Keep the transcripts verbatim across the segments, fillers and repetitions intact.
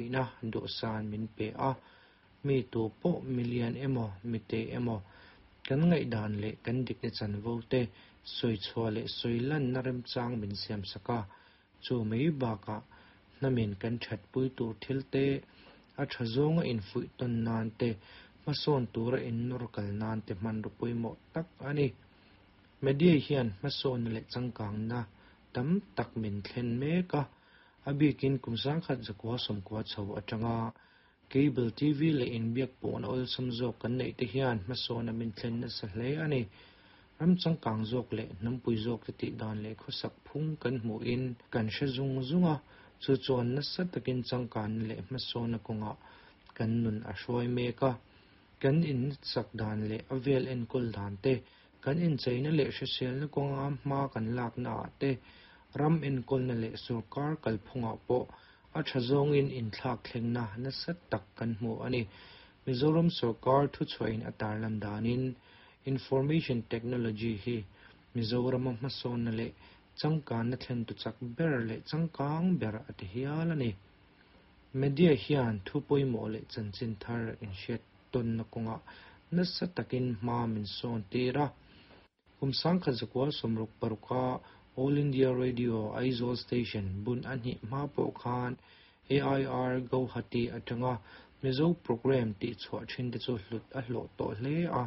Theihna dawhsan min pe a, mi tu pawh milian emaw mite emaw kan ngaihdan leh kan dikna chanvo te sawi chhuah leh sawi lanna remchang min siam sak a, chu mai bakah hnamin kan thatpui tur thil te a tha zawnga infuih tawn nan te hmasawn tura innawr kal nan te hmanraw pawimawh tak a ni. Media hian hmasawnna leh changkangna tam tak min thlen mek a, a bikin kum sangkhat zakua sawmkua chho atanga cable T V leh inbiak pawhna awlsam zawk kan neih te hian hmasawnna min thlen nasa hle a ni. Ram changkang zawk leh hnampui zawk te tih dan leh khawsak phung kan hmuhin kan hre zung zung a, chu chuan nasa takin changkanna leh hmasawnna kawngah kan nun a hruai mek a. Kan insak dan leh a vel enkawl dan te, kan incheina leh hriselna kawnga hma kan lakna ah te, ram enkawlna leh sorkar kalphungah pawh a tha zawngin inthlak thlengna nasa tak kan hmu a ni. Mizoram sorkar thuchhuahin a tarlan danin information technology hi Mizorama hmasawnna leh changkanna thlen tu chak ber leh changkang ber a ti hial a ni. Media hian thu pawimawh leh chanchin thar inhriat tawnna kawngah nasa takin hma min sawn tir a. Kum sangkhat zakua sawmruk paruka All India Radio Aizawl Station bun a hnih hma pawh khan A I R Guwahati atanga Mizo program tih chhuah thin te chu hlut a hlawh tawh hle a.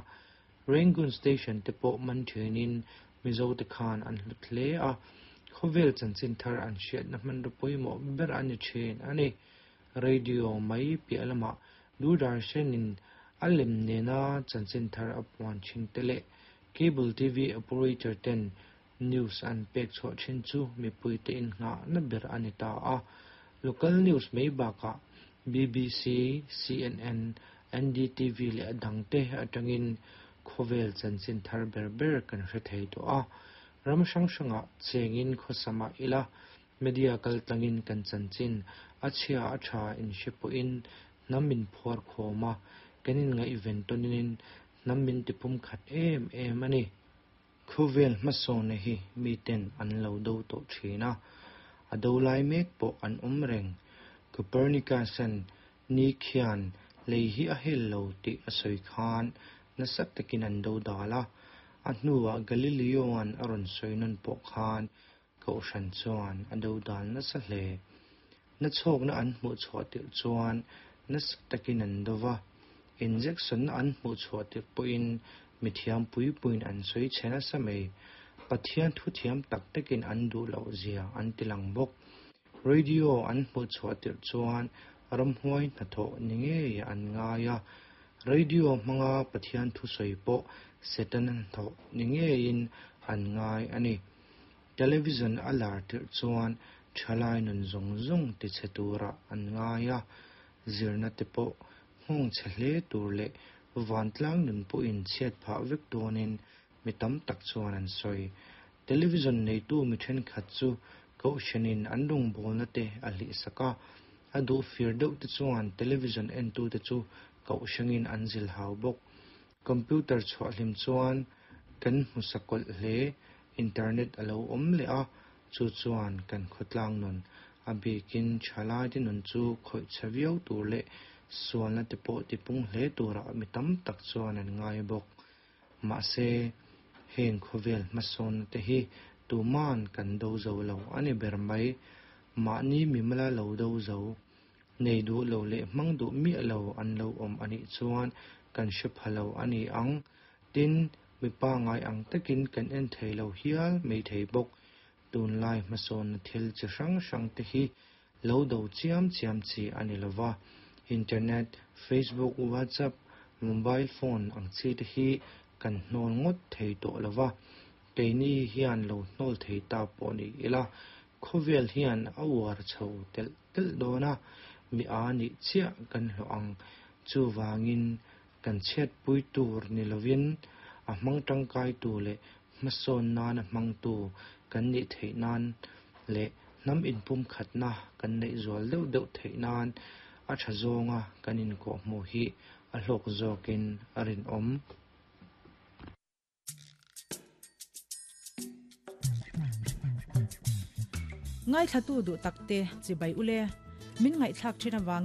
Rangoon Station te pawh man thinin Mizo te khan an hlut hle a. Khawvel chanchin thar an hriatna hmanraw pawimawh ber a ni thin a ni. Radio mai piah lamah Doordarshanin a lem nena chanchin thar a puan thin te leh cable T V operator ten news an pek chhuah thin chu mipui te innghah na ber a ni ta a. Local news mai bakah B B C, C N N, N D T V leh a dang te atangin khawvel chanchin thar ber ber kan hre thei tawh a. Ram hrang hrangah chengin khawsama ila media kal tlangin kan chanchin a chhia a tha in hre pawhin hnam min phuar khawm a, kan inngaih ven tawnin hnam min tipum khat em em a ni. Khawvel hmasawnna hi miten an lo do tawh thin a, a do lai mek pawh an awm reng. Copernicus-an ni khian lei hi a hel lo tih a sawi khan nasa takin an do dal a, a hnuah Galileo-an a rawn sawi nawn pawh khan kohhran chuan a do dal nasa hle. Na chhawkna an hmuh chhuah tirh chuan nasa takin an do va, injection na an hmuh chhuah tirh pawhin mithiam pui puiin an sawi che nasa mai. Pathian thu thiam tak takin an duh loh zia an ti lang bawk. Radio an hmuh chhuah tirh chuan ramhuai hnathawh ni ngei an ngai a. Radio hmanga Pathian thu sawi pawh Satan hnathawh ni ngeiin an ngai a ni. Television a lar tirh chuan thalai nun zawng zawng ti che tura an ngai a. Zirna te pawh nghawng che hle tur leh vantlang nun pawhin chhiat phah vek dawnin mi tam tak chuan an sawi. Television neitu mi thenkhat chu kohhranin an rawngbawlna te a hlih sak a, a duh fir deuh te chuan television entu te chu kohhrangin an zil hau bawk. Computer chhuah hlim chuan kan hmu sakawlh hle, internet a lo awm leh a, chu chuan kan khawtlang nun a bikin thalai te nun chu khawih che viau tur leh sualna te pawh tipung hle turah mi tam tak chuan an ngai bawk. Mahse heng khawvel hmasawnna te hi tuman kan do zo lo a ni ber mai. Mahni mimala lo do zo, nei duh lo leh hmang duh miah lo an lo awm anih chuan kan hre pha lo a ni ang. Tin, mipa ngai ang takin kan en thei lo hial mai thei bawk. Tunlai hmasawnna thil chi hrang hrang te hi lo do chiam chiam chi a ni lova. Internet, Facebook, WhatsApp, mobile phone ang chi te hi kan hnawl ngawt thei tawh lova. Keini hian lo hnawl thei ta pawh ni ila, khawvel hian a uar chho telh telh dawn a, mi a nih chiah kan hlawh ang. Chu wangin kan chhiat pui tur ni lovin a hmang tangkai tu leh hmasawn nana hmang tu kan nih theih nan leh hnam inpum khatna kan neih zual deuh deuh theih nan a tha zawnga kan inkawh hmuh hi a hlawk zawkin a rinawm. Ngai thla tu du takte chibai ule. Min ngaihthlak thin awangin.